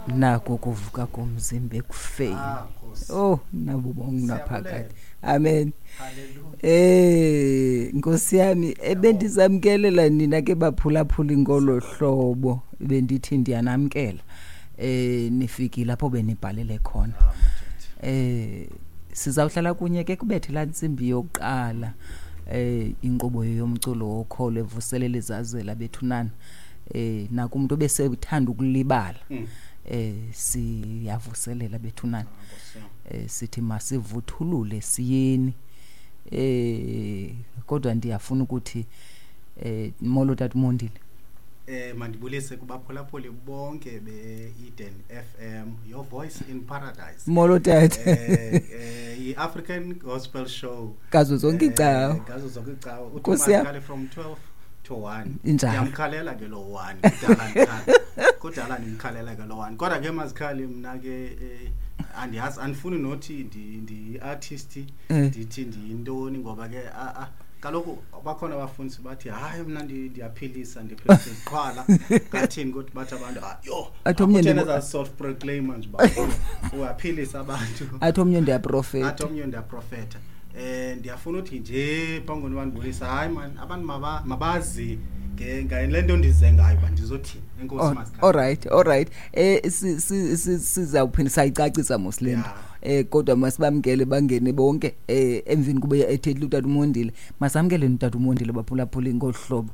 Nako kuvuka komzimba ekufeni. Ah, Nkosi. Oh, nabo bongunaphakade. Siyabulela. Amen. Hallelujah. Nkosi yami, ebendizamkelela nina ke baphulaphuli ngolo hlobo, bendithi ndiyanamkela. Nifikile lapho benibhalele khona. Ah, madoda. Sizawuhlala kunye ke kubethe laa ntsimbi yokuqala. Inkqubo yomculo wokholo evuselela izazela bethunana. Nakumntu obesethanda ukulibala. Siyavuselela bethunana. Ah, Nkosi yam. Sithi masivuthulule siyeni. Kodwa ndiyafuna ukuthi molo tata uMondile. Mandibulise kubaphulaphuli bonke be-Eden FM, your voice in paradise. Molo tata. I-African Gospel Show. Ngazo zonke iicawa. Ngazo zonke iicawa. Uthi Nkosi yam. Mazikhale from 12 to 1. Injalo. Ndiyamkhalela ke lo 1. Kudala ndikhala. Kudala ndimkhalela ke lo 1. Kodwa ke Mazikhali mna ke andiyazi, andifuni nothi ndi-artist, ndithi ndiyintoni ngoba ke kaloku bakhona abafundisi bathi hayi mna ndiyaphilisa, ndiphilisa iziqhwala. Ngathini ukuthi bathi abantu, yho, Athi omnye akutheni ndibu- eza self-proclaimer nje uba uyaphilisa abantu. Athi omnye ndiyaprofeta. Athi omnye ndiyaprofeta. Ndiyafuna uthi nje phambi kokuba ndibulise, hayi man, abantu mabazi ngale nto ndize ngayo uba ndizothini. Enkosi, Mazikhali. All right, all right. Sizawuphinda sayicacisa mos le nto. Kodwa masibamkele bangene bonke, emveni kube ethethile utata uMondile. Masamkele utata uMondile baphulaphuli ngolu hlobo.